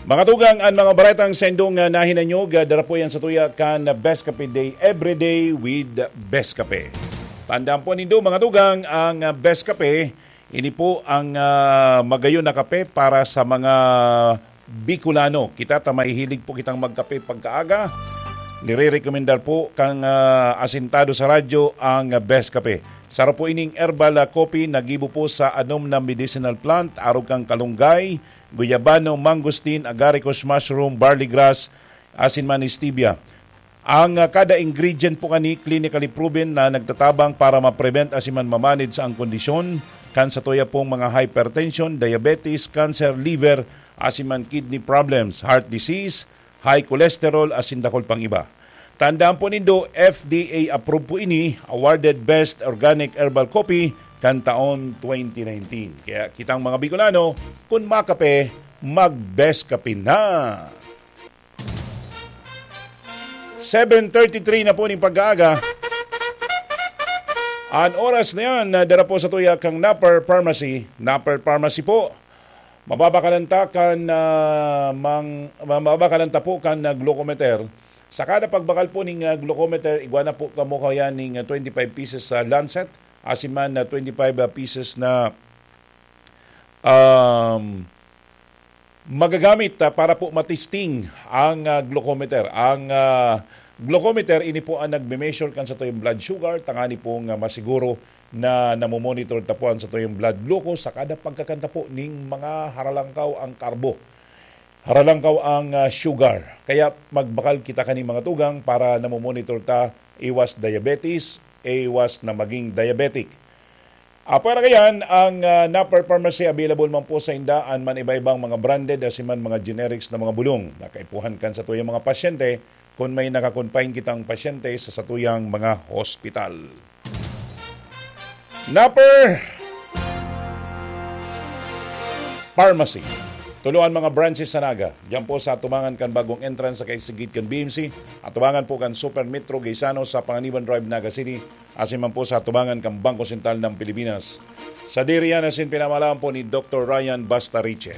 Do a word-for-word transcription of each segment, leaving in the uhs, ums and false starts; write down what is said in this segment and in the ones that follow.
Mga tugang, an mga baretang saindong, ah, nahinanyog, ah, dara po yan sa tuya kan Best Cafe Day, every day with Best Cafe. Tandaan po nindo, mga tugang, ang, ah, Best Cafe, ini po ang, ah, magayon na kape para sa mga Bicolano. Kita ta mahihilig po kitang magkape pagkaaga. Nire-recommendar po kang, ah, asintado sa radyo ang, ah, Best Cafe. Saro po ining herbal, ah, coffee na gibo po sa anom na medicinal plant, arog kan kalunggay, guyabano, mangosteen, agaricus mushroom, barley grass, asin man stevia. Ang, ah, kada ingredient po kani clinically proven na nagtatabang para ma-prevent asin man ma-manage ang kondisyon kan satuya pong mga hypertension, diabetes, cancer, liver, asin man kidney problems, heart disease, high cholesterol, asin dakul pang iba. Tandaan po nindo, F D A approved po ini, awarded Best Organic Herbal Coffee kan taon twenty nineteen. Kaya kitang mga Bicolano, kun makape, mag-Best Kape na! Seven thirty-three na po ning pag-aaga. An oras na yan, na dara po sa tuya kang Napper Pharmacy. Napper Pharmacy po. Mababakalan ta kan, ah, mang-, mababakalan ta po kan, ah, glucometer. Sa kada pagbakal po ning, ah, glucometer, igwa na po kamo kaya ning, ah, twenty-five pieces sa lancet, asin man na twenty-five, ah, pieces na, um, magagamit, ah, para po matisting ang, ah, glucometer. Ang, ah, glucometer, ini po ang nagme-measure kan satuyang blood sugar, tangani pong, ah, masiguro na namomonitor ta po ang satuyang blood glucose sa kada pagkakan ta po ning mga haralangkaw ang karbo. Haralangkaw ang, ah, sugar. Kaya magbakal kita kani mga tugang para namomonitor ta iwas diabetes, iwas na maging diabetic. Apwera kayan, ang, ah, Napper Pharmacy available man po sa inda an man iba-ibang mga branded asin man mga generics na mga bulong na kaipuhan kan satuyang mga pasyente kun may naka-confine kitang pasyente sa satuyang mga hospital. Napper Pharmacy. Tulo an mga branches sa Naga. Diyan po sa atubangan kan bagong entrance sa kaisigit kan B M C, atubangan po kan Super Metro Gaisano sa Panganiban Drive, Naga City, asin man po sa atubangan kan Bangko Sentral ng Pilipinas. Sadiri yan asin pinamalaan po ni Doktor Ryan Bastariche.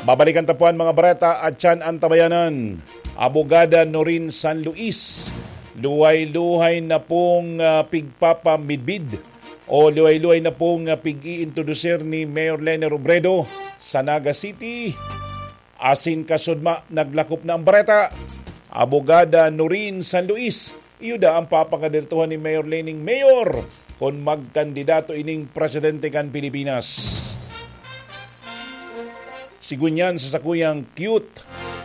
Babalikan ta po an mga bareta at tiyan an tabayanan. Abogada Norin San Luis, luhay-luhay na pong, ah, pigpapamidbid o luhay-luhay na pong, ah, pig-iintrodusir ni Mayor Leni Robredo sa Naga City. Asin kasudma, naglakop na ang bareta. Abogada Norin San Luis, iyo daa ang papangadirektohan ni Mayor Lening mayor kun magkandidato ining presidente kan Pilipinas. Sigunyan sa sakuyang cute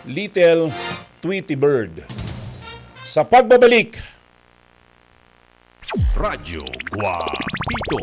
little Tweety Bird. Sa pagbabalik, Radyo Guapito.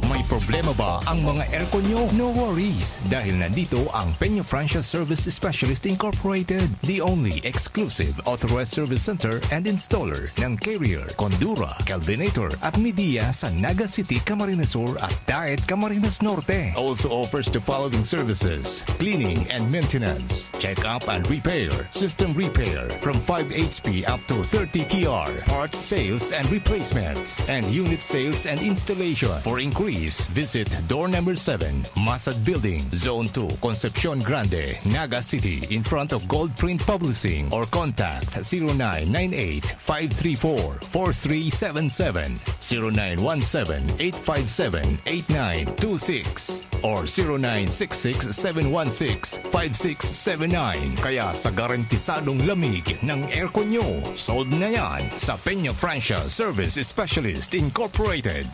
May problema ba ang mga aircon nyo? No worries, dahil nandito ang Peña Francia Service Specialist Incorporated, the only exclusive authorized service center and installer ng Carrier, Condura, Kelvinator at Midea sa Naga City, Camarines Sur at Daet, Camarines Norte. Also offers the following services: cleaning and maintenance, check-up and repair, system repair from five H P up to thirty T R, parts sales and replacements, and unit sales and installation. For inquiries, visit door number seven, Masad Building, Zone two, Concepcion Grande, Naga City, in front of Gold Print Publishing, or contact zero nine nine eight, five three four, four three seven seven, zero nine one seven, eight five seven, eight nine two six, or zero nine six six, seven one six, five six seven nine. Kaya sa garantisadong lamig ng aircon nyo, sold na yan sa Peña Francia Service Specialist Incorporated.